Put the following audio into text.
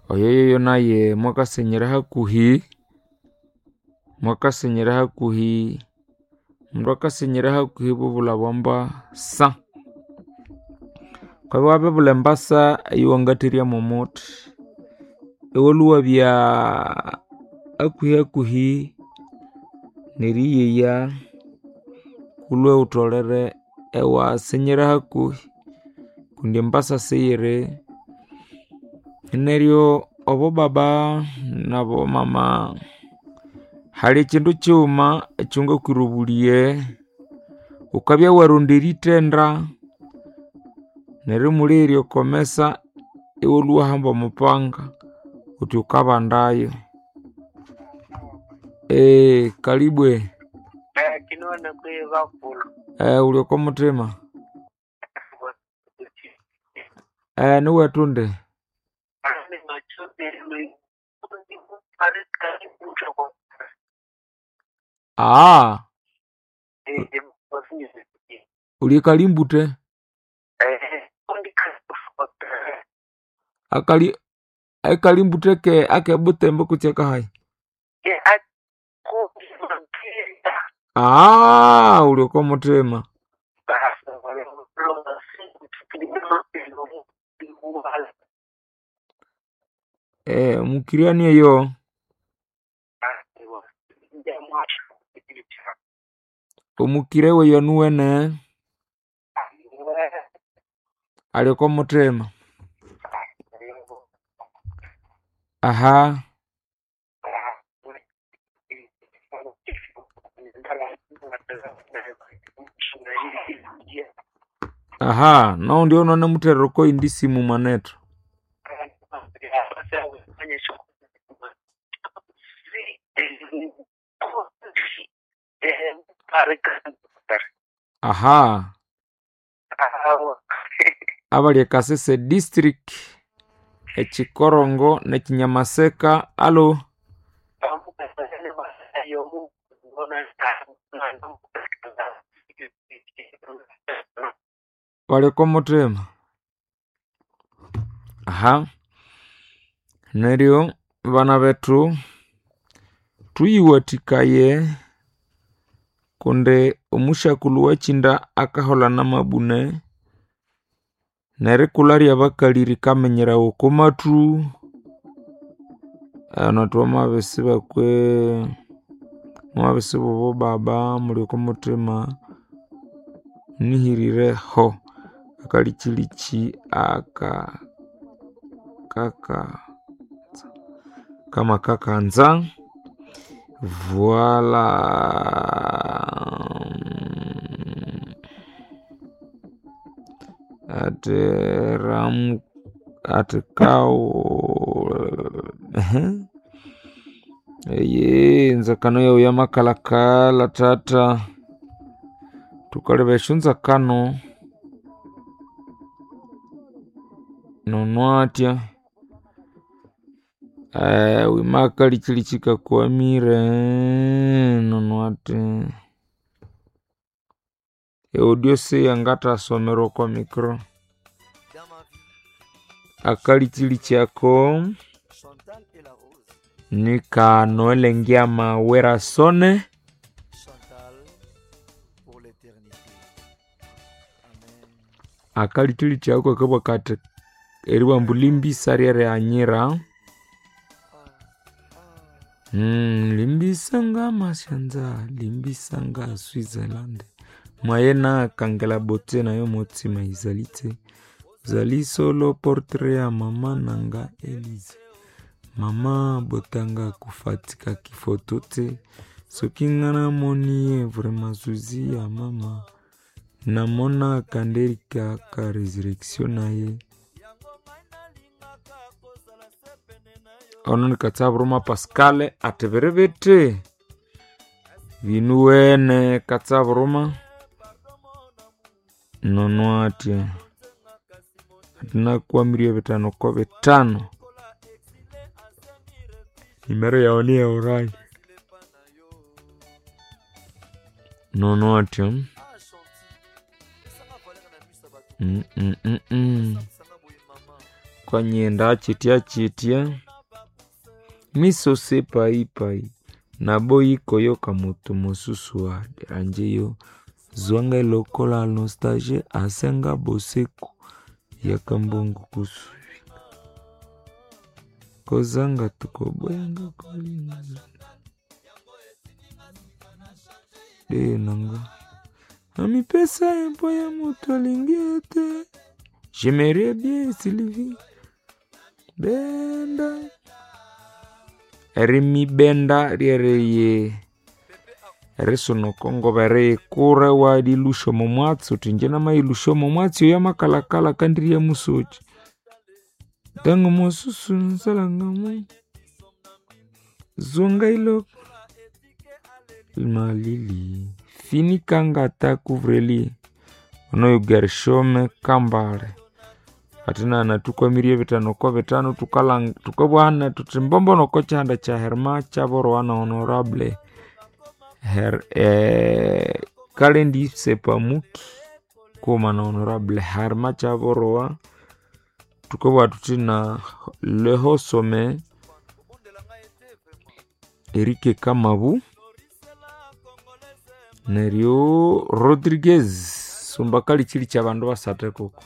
Oyo yoyo naye mwakasenyera hakuhi, mwakasenyera hakuhi, omundu akasenyera hakuhi bubulha bwambasa. Wukabya wabibulha embasa eyowangatherya mwomuthi, iwalhwa iwabya hakuhi hakuhi neriyeya wulhwe wutholere iwasenyera hakuhi kundi embasa siyiri. Neryo obobaba nabomama, hali ekyindu kyighuma ekyongakwira obulighe, wukabya waronda erithenda neryo imulighere okomesa iwalhwa iwahamba omupanga wuthi wukabandayo. Kalibwe. Kinone kwihi bakulhu? Wuli okomuthima. Niwethu indi? Wuli ekalimbute? Akali ekalimbute ke akebutembo kutse akahayi? Wuli okomuthima. Omukirania eyo omukire weyo anuwene ali okomuthima. Noghundi oyo inanimuthera okoyindi simu mwanethu. Abali e Kasese district, ekyikorongo nekyinyamaseka allo. Bali okomuthima. Neryo bana bethu thuyiwathikaye kundi omusyakulhu owakyinda akaholha namabune nerikulha lyabakalhi rikaminyerawa okomathu. Thwamabisibakwe mwamabisiba obobaba muli okomuthima munihirire ho akalichilikyi aka kaka kamakakanza. Vualaa. Athi ramu athi kawu enzakano yawu yamakalhakalha thatha. Thukaleba esyonzakano nono athya wima akalichilikyi kakwamire nono athi e audio siyangathasomerwa okwa micro. Akalichilikyi ako nika Noel Ngiama Werasone. Akalichilikyi ako kakabugha kathi eribugha ambu limbisa ryerighanyira. Limbisa nga masyanza, limbisa nga Switzerland. Mwayena kangela botse nayo motsima izali tse. Ozali solo portrait ya mama nanga Elise. Mama botanga kufatika kifoto te. Soki nga namoni ye vraiment zuzi ya mama. Namona kandeli kaka resurrection naye. Ono ni Katsaburuma Pascal athi biri bithi binuwene Katsaburuma nono athya athi nakwamirie bitano kobithano. Nimero yawu niya orange. Nono athya. Kwanyenda chitya chitya miso se paipai naboyi koyoka moto mosusu aderanje yo zwanga lokola nostalgie asenga boseko yakambongo kusu kozanga tukoboyanga kolinga de nanga amipesa empo ya moto alingi ete j'aimerais bien Sylvie benda erimibenda ryereye erisonokongo beriyikura iwalilusha omo mwatsi uthi inje namayilusha omo mwatsi oyo amakalakala kandirya musoki ntango mosusu nsalangamo zonga ilo malili finikangata kuvreli onoyo Gershome Kambale atinana tukwamirie bitano kwa bitano tukabwana tuti mbombo noko chihanda cha Herma chaborwa na honorable Her, Kalendi Sepamuki kuma na honorable Herma chaborwa tukabwa tuti na lehosome Erike Kamabu neryo Rodriguez sumbakali chili cha bandu basate koko.